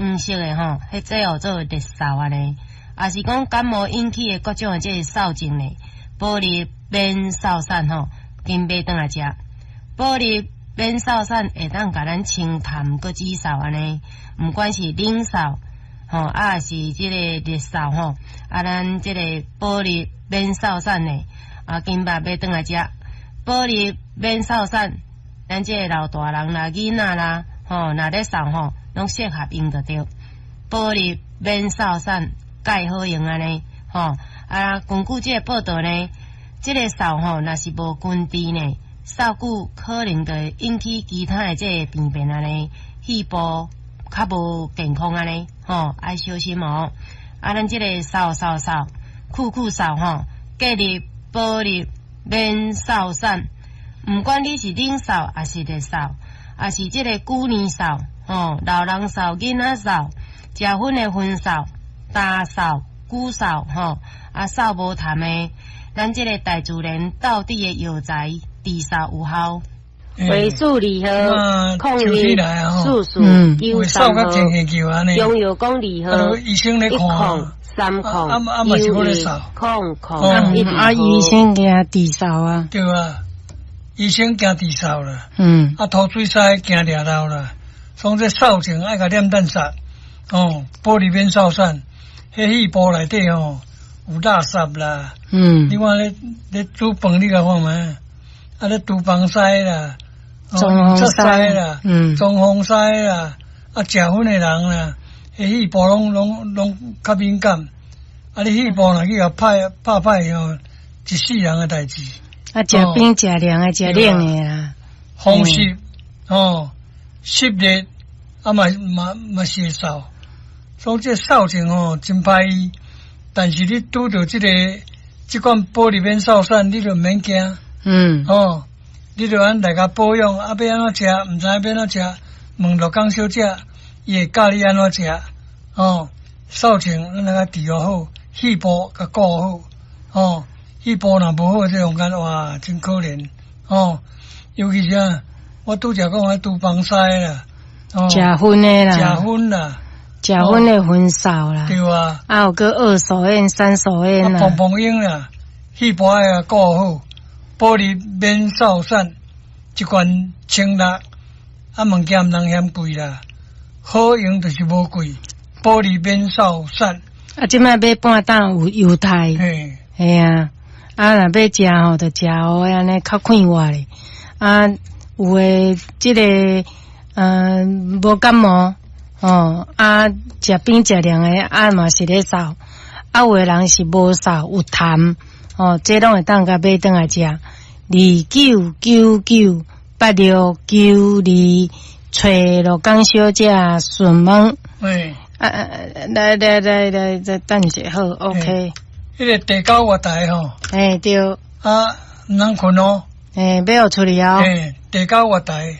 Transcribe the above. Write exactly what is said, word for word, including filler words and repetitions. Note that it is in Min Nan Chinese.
黃色的吼，彼這號做熱嗽按呢，抑是講感冒引起的各種的這个嗽症呢，保利免嗽散吼，緊買轉來食。保利免嗽散會當共咱清痰閣止嗽按呢，毋管是冷嗽吼，抑是這个熱嗽吼，啊，咱這個保利免嗽散呢，啊，緊捌買轉來食。保利免嗽散，咱這个老大人啦、囡仔啦，吼，若咧嗽吼，攏適合用就對。保利免嗽散蓋好用按呢，吼，啊，根據這个報道呢，這个嗽吼，若是無根治呢，嗽久可能就會引起其他的這个病變按呢，肺部較無健康按呢，吼，愛小心哦。啊，咱這个嗽嗽嗽，久久嗽吼，建議保利免嗽散，毋管你是冷嗽，抑是熱嗽，抑是這个久年嗽，吼，老人嗽、囡仔嗽，食薰的薰嗽、焦嗽、久嗽，吼，啊嗽無痰的，咱這个大自然道地的藥材治嗽有效。回數二號，空一四四九三號，中藥講二號，一空三空九一空空一啊，醫生驚治嗽啊。對啊，醫生驚治嗽啦。嗯。啊，吐水屎驚掠漏啦。所以這嗽症愛共念蛋殺，哦，保利免嗽散，彼肺部內底吼有垃圾啦。嗯。你看咧咧煮飯，你共看覓？啊，咧廚房屎啦。裝潢屎啦，嗯，裝潢屎啦，啊，食薰的人啦，彼肺部攏攏攏較敏感，啊，你肺部若去共拍拍歹吼，一世人的代誌。啊，食冰食涼的，食冷的啦。風濕哦，濕熱啊嘛嘛嘛是會嗽，所以這嗽症吼真歹醫，但是你拄著這个這款保利免嗽散，你就毋免驚。嗯。哦。你就按來共保養，啊，欲按怎食，毋知欲按怎食，問鹿港小姐，伊會教你按怎食。哦，嗽症咱來共治好，肺部共顧好。哦，肺部若無好，這種間哇，真可憐。哦，尤其是啊，我拄才講彼廚房屎啦，哦，食薰的啦，食薰啦，食薰的薰嗽啦，對啊，啊有閣二手煙、三手煙啦，碰碰煙啦，肺部愛共顧好。保利免嗽散，一罐千六，啊物件毋通嫌貴啦，好用就是無貴。保利免嗽散，啊，這擺買半擔有優待，嘿，嘿啊，啊若欲食吼，就食予按呢較快活咧。啊，有的這个，嗯，無感冒，吼，啊，食冰食涼的，啊嘛是咧嗽，啊有的人是無嗽有痰。哦，這攏會當共買轉來食。二九九九八六九二，揣鹿港小姐詢問。喂，啊啊，來來來來，再等一下，好，OK。彼个第九月台吼。欸，對。啊，毋通睏哦。欸，欲予出去哦。欸，第九月台。